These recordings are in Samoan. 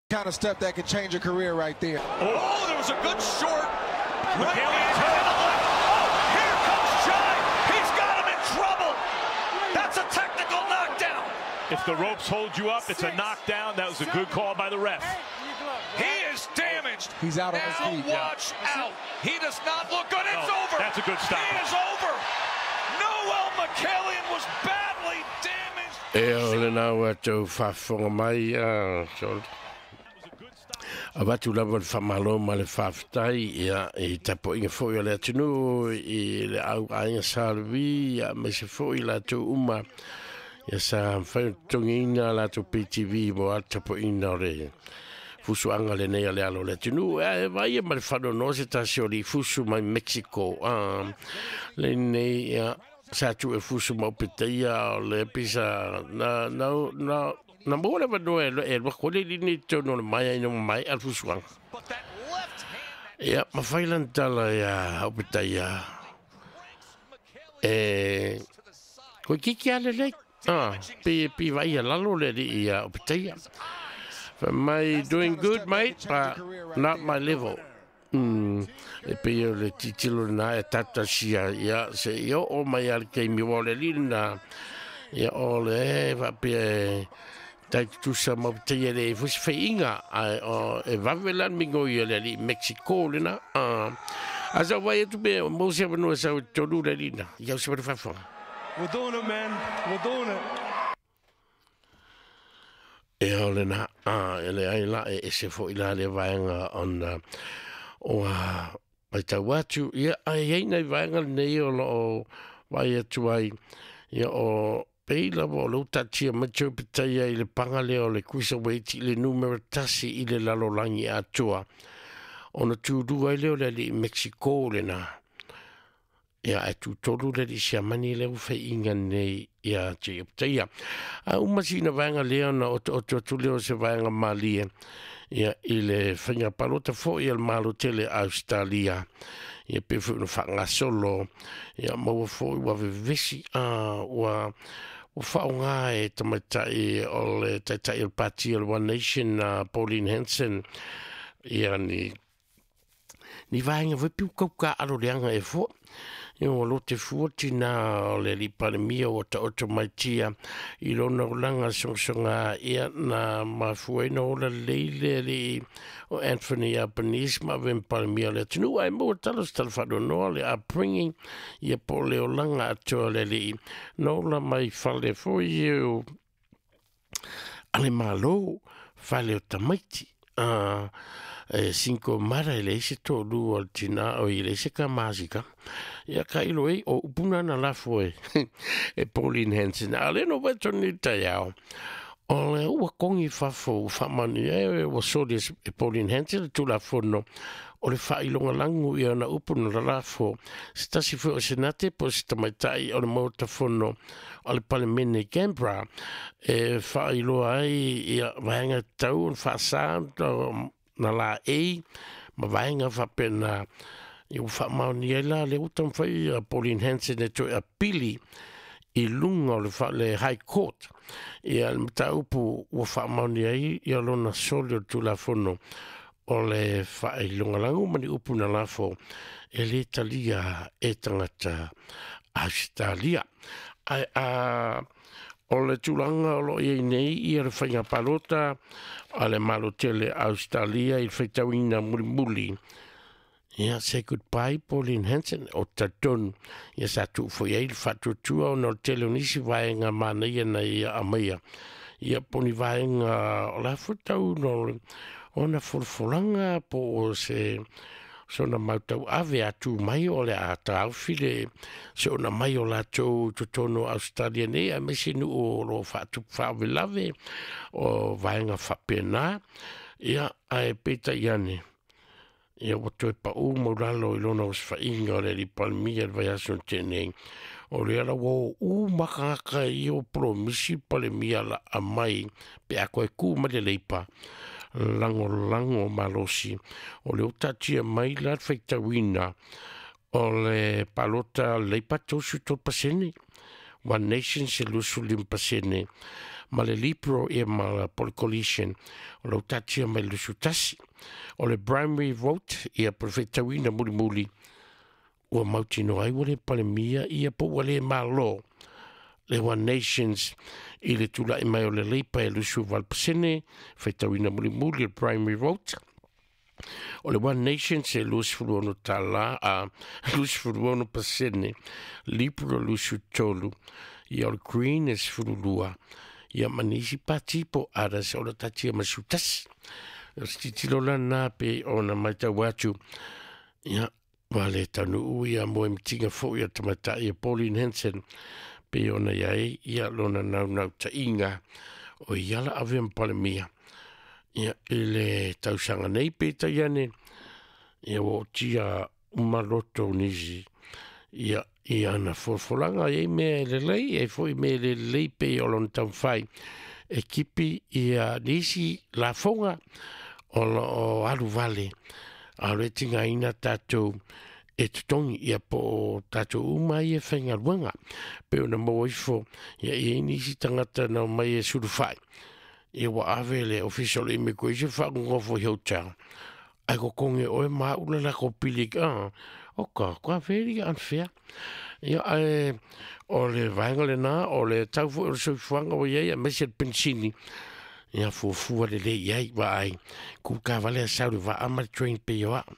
Kind of stuff that could change a career right there. Oh, there was a good short. Right hand to the left. Oh, here comes Jai. He's got him in trouble. That's a technical knockdown. If the ropes hold you up, it's a knockdown. That was a good call by the ref. He is damaged. He's out on his Now feet. watch out. He does not look good. It's Oh, over. that's a good stop. He is over. Noel Mikaelian was badly damaged. E o le nā ua tau whaafonga mai a so avatu lava le whamalo ma le whawhitai ia i tapo inga foi o le atunu i le au ainga salvi ia me se foi la tau uma ia sa whai tongi ina la tau PTV mo a tapo ina o le fusu anga le nei a le alo le atunu e vai e ma le whano no se tasi o li fusu mai Mexico le nei ia sa tu e fusu mau piteia o le pisa na na na na mo le vano e e ko le ni tono le mai ai no mai al fusu anga. But that left hand Ia ma failan tala ia o piteia e ko kiki ale le pi pi vai a lalo le li ia o piteia. For my doing good mate but not my level. E pe o le titilo na e tata sia ia se io o mai al ke mi o le lina ia o le va pe tai tu sa mo te le fus feinga ai o e va velan mingo ia le li Mexico le na a sa vai tu be mo se no sa tolu le lina ia se fa fa. We're doing it, man. We're doing it. E o le na e le ai la e se fo ila le vaenga on o a mai tau atu ia ai ai nei vaenga nei o lo vai atu ai ia o peila o lo tatia macho pitaia i le panga le o le kuisa waiti le numero tasi i le lalolangi atua ona tūru ai leo le li Mexico le na ia e tūtolu le li siamani le uwhai nei ia te pitaia a umasina vaenga leo na o te atu leo se vaenga malie ia i le whainga palota fo i al malo tele Australia ia pe fo no whangasolo ia maua fo i wa vevesi a ua whaonga e tamaitai o le taitai o le pati o le One Nation Pauline Hanson ia ni vaenga wepi ukauka alo leanga e fo ia o lo te fuoti nā o le lipalemia o ta oto mai tia i lona ulanga songsonga ia na mafuaina ola leile li o Anthony Albanese ma ven palemia le atunu ai mo talo talawhanonoa le upbringing ia po le olanga atoa le li no ola mai fale foi e o ale malo fale o tamaiti e 5 mara e le ese tōlu o le tina o i le ese ka masika ia ka ilo e o upuna na lafo e e Pauline Hanson a le no weto ni taiao o le ua kongi fafo whamani e ua soli e Pauline Hanson le tulafono o le whailonga langu ia na upuna la lafo se tasi fue o senate po se tamaitai o le maotafono o le palemene Canberra e whailoa ai ia vaenga tau o whaasa na la e ma vaenga whapena i u whamaoni ai la le utam whai a Pauline Hanson e toe a pili i lunga o le High Court ia le mataupu ua whamaoni ai ia lona soli o tulafono o le whailonga langu mani upu na lafo e le talia e tangata Australia ai a o le tūlanga o lo iei nei ia le whainga palota a le malo tele Australia i le whaitauina mulimuli. Ia say goodbye Pauline Hanson o tatonu ia sa tuufo iai le whatutua o no tele o nisi vaenga manaia na ia amaia. Ia poni vaenga o la futau no ona folafolanga po o se sona mautau ave atu mai o le a tāufi se ona mai o lātou totono Australia nei a mese nu o lo whaatupu whaawelave o vaenga whapena ia ae peta iane ia ua toe pau maulalo i lona osawhainga o le lipalmia le vaiaso tēnei o le ala ua u makangaka i o promisi palemia la amai pe a koe ku ma le leipa lango lango malosi o le otatia mai la whaitauina o le palota leipa 33% One Nation se 25% ma le Liberal ia ma la Coalition o lo tatia mai 21. O le primary vote ia po le feitauina mulimuli ua mautinoa ai ua le palemia ia po ua le malo le One Nations i le tula'i mai o le Leipa e 28% feitauina mulimuli le primary vote. O le One Nation se 26 tala a 26%, Liberal 23, ia o le Green e 12, ia ma nisi pati po others o le tatia ma 11. O se titilo lana pe ona maitau atu, ia ua le taunuu ia mo e mitinga fo'i a tamaitai e Pauline Hanson pe ona iai ia lona naunau ta'iga o ia la ave ma palemia ia i le tausaga nei pe taiane ia ua otia uma loto nisi ia i ana folafolaga iai mea e lelei ai fo'i mea e le lelei pe o lona taumafai e kipi ia nisi lafoga o loo alu vale a o le tigaina tatou e totogi ia po o tatou uma ia faigaluega pe ona maua ifo ia i ai nisi tagata na omai e sulufa'i ia ua ave le ofisa o le immigration faagogofo i hotel ae kokogi oe ma a'u le lakou pili a oka ka very unfair ia ae o le vaega lenā o le tau fo'i o le soifuaga ua iai aemaise le penisini ia fuafua lelei ai vaai kūkā vale a sau le vaa ma le train pei o a'u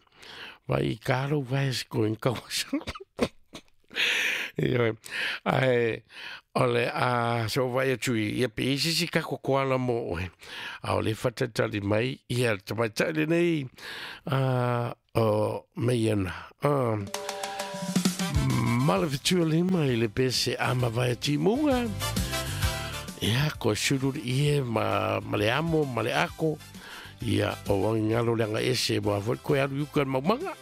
vai i ka lou vae se koe kauasa. Ioe, ae o le a so vai atu i ia pe isi si ka kokoala mo oe. A o le fatatali mai ia le tamaitai lenei a o meiana. Ma le fetua lima i le pese a mavae timuga. Ia, ko sulu ie ma, ma le amo, ma le ako. Ia, o wangalo le anga ese, mo a foi koe alu yuka maumanga.